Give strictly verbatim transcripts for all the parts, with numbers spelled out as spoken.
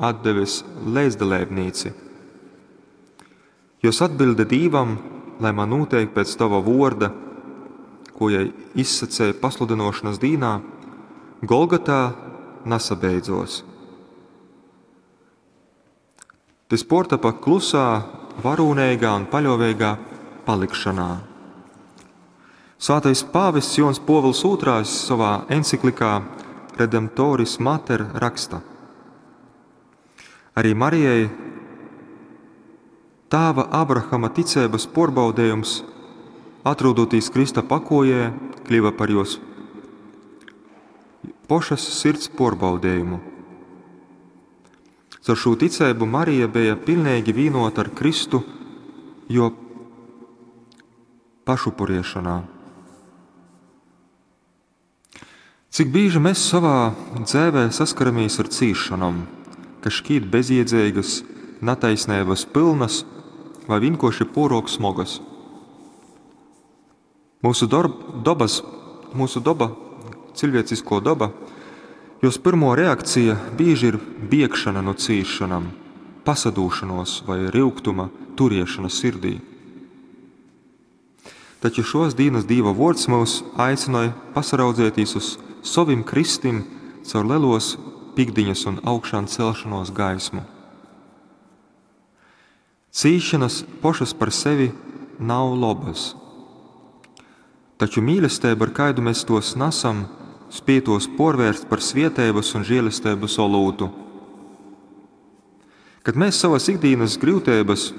atdeves leidzdaleibnīci. Jos atbilde Dīvam, lai man nūteik pēc tava vorda, ko jai izsacēja pasludinošanas dīnā, Golgatā nasabeidzos. Tys portapa klusā, varūneigā un paļoveigā palikšanā. Svētais pāvests Jons Pōvils ūtrais savā enciklikā Redemptoris Mater raksta: Arī Marijai tāva Abrahama ticeibas porbaudejums, atrodoties Krista pakojē, kļiva par jos pošas sirds porbaudejumu. Caur šū ticeibu Marija beja pilnīgi vīnota ar Kristu, jo pašupuriešanā. Cik bīži mēs savā dzēvē saskaramies ar cīšanom, kas šķiet bezjiedzīgas, nataisnības pilnas vai vienkārši porok smogas. Mūsu dorb, dobas, mūsu doba, cilvēcisko doba, jos pirmo reakcija bieži ir biegšana no cīšanām, pasadūšanos vai ryugtuma turiešana sirdī. Taču šos dīnas Dīva vords mūs aicināja pasaraudzēties uz sovim kristim caur lelos pikdiņas un augšām celšanos gaismu. Cīšanas pošas par sevi nav lobas. Taču mīlestība, ar kādu mēs tos nesam, spēj tos porvērst par svietības un žēlestības olūtu. Kad mēs savas ikdienas grūtības,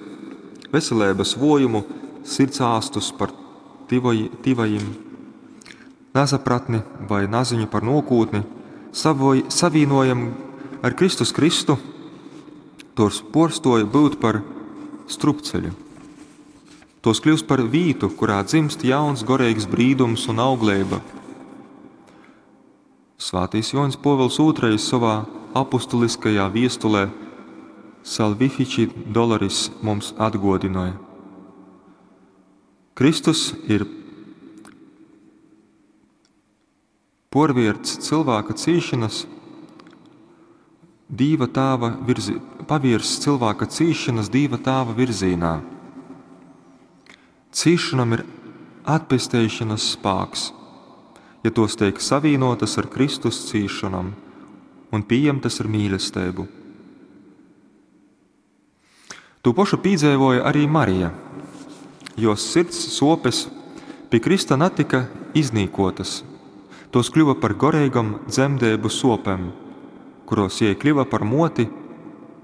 veselības vojumu, sirdsāstus par tivoj, tivajim, nasapratni vai naziņu par nokūtni, savoj, savīnojam ar Kristus Kristu, tos porstoja būt par strupceļu. Tos kļūst par vītu, kurā dzimst jauns gorīgs brīdums un auglība. Svētais Joņs Pōvils ūtrais savā apustuliskajā viestulē Salvifici Doloris mums atgodināja. Kristus ir porvierts cilvēka cīšanas, Dīva tāva virzi, pavirs cilvēka cīšanas Dīva tāva virzīnā. Cīšanam ir atpesteišanas spāks, ja tos tiek savīnotas ar Kristus cīšanam un pieņemtas ar mīlestību. To pašu pīdzēvoja arī Marija, jo sirds sopes pie Krista netika iznīkotas, tos kļuva par gorīgam dzemdēbu sopem, kuros jie kļuva par moti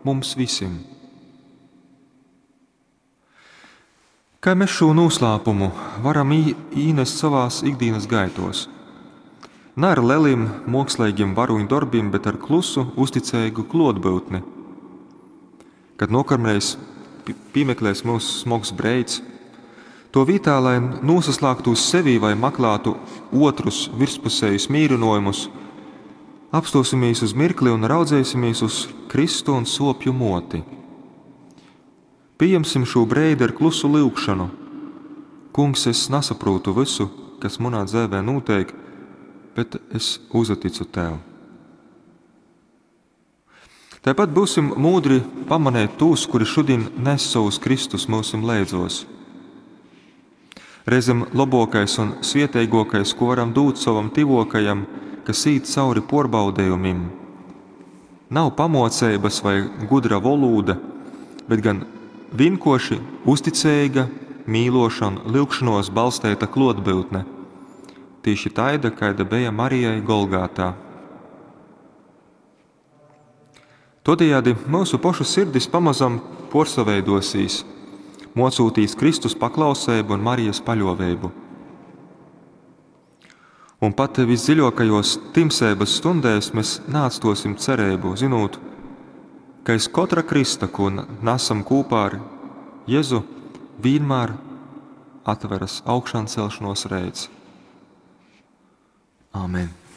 mums visiem. Kā mēs šo noslēpumu varam īnest savās ikdienas gaitos? Ne ar lelim, mākslīgiem varoņu darbiem, bet ar klusu, uzticīgu klotbūtni. Kad nokamreiz piemeklēs mūsu smogs breids, to vietā, lai nosaslāgtu uz sevi vai maklātu otrus virspusējus mīrinojumus, apstosimies uz mirkli un raudzēsimies uz Kristu un sopju moti. Pieņemsim šo breidi ar klusu lūgšanu. Kungs, es nesaprotu visu, kas manā dzīvē notiek, bet es uzticu tev. Tāpat būsim mūdri pamanēt tos, kuri šodien nes savus Kristus mūsim leidzos. Reizem labākais un svietēgākais, ko varam dot savam tivokajam, kas īt cauri porbaudējumim, nav pamocības vai gudra volūda, bet gan vienkoši uzticīga, mīloša un lūgšanos balstīta klotbūtne. Tieši taida, kaida bija Marijai Golgātā. Todējādi mūsu pašu sirdis pamazam porsaveidosīs, mocūtīs Kristus paklausību un Marijas paļovēbu. Un pat visdziļākajos timsēbas stundēs mēs neatstosim cerību, zinot, ka aiz katra Krista, ko nesam kopā ar Jēzu, vienmēr atveras augšām celšanos reids. Āmen!